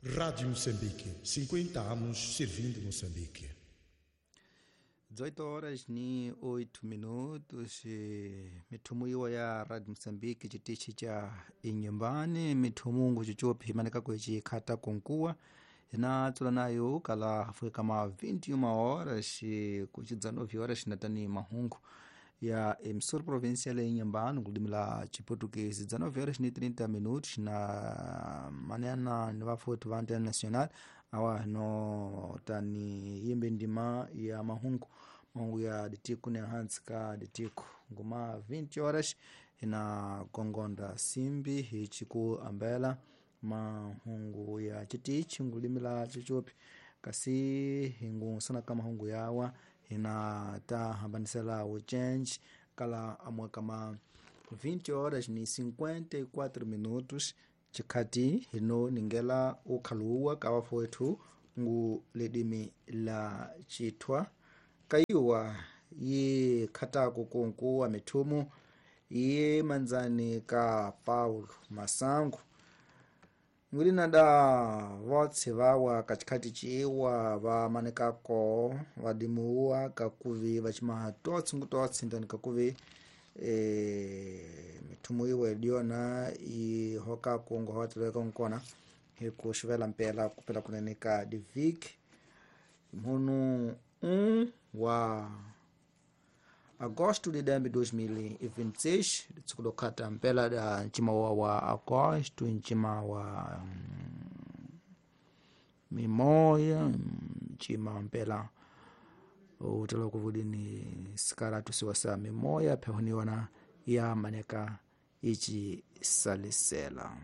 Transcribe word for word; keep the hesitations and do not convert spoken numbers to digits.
Rádio Moçambique, cinquenta anos servindo Moçambique. dezoito horas ni oito minutos. Mithumu iwo ya Radio Moçambique chitichi cha inyumbani mithumungu chichopi imanikako ichikhata konkuwa inatsula nayo kala hafuke kama vinte e uma horas ku dezenove horas natani mahungu ya emissora provincial ya Inhambane kulimi la chiportuguês dezenove horas ni trinta minutos na manena ni vafuti va antena nacional awa no tani yimbe ndima ya mahungu mahungu ya ditiku ne hansi ka ditiku nguma vinte horas ina gongonda simbi hichiku ambela mahungu ya chitichi ngulimi la chichopi kasi hingu ka mahungu yawa ina ta hambanisela uchenji kala amwe kama vinte horas ni cinquenta e quatro minutos chikhati hino ningela ukhaluwa ka wafowethu ngu lidimi la chithwa kaiwa yi khatako konkuwa mithumu iye manzani ka Paulo Masango ngulinada votse vawa kachikhati ciwa vamanekako vadimuwa kakuvi vacimaha totse ngu totse ndani kakuvi e, mithumu iwe diona ihokako ngohoteleka nkona hiku xivela mpela kupela kunene ka diviki mhunu um wa agosto de dois mil e vinte e seis tsukulokhata mpela da ncima wa wa agosto ncima wa mm, mimoya ncima mpela utala kuvudini sikaratu siwa sa mimoya phehuniwana ya maneka ici salisela.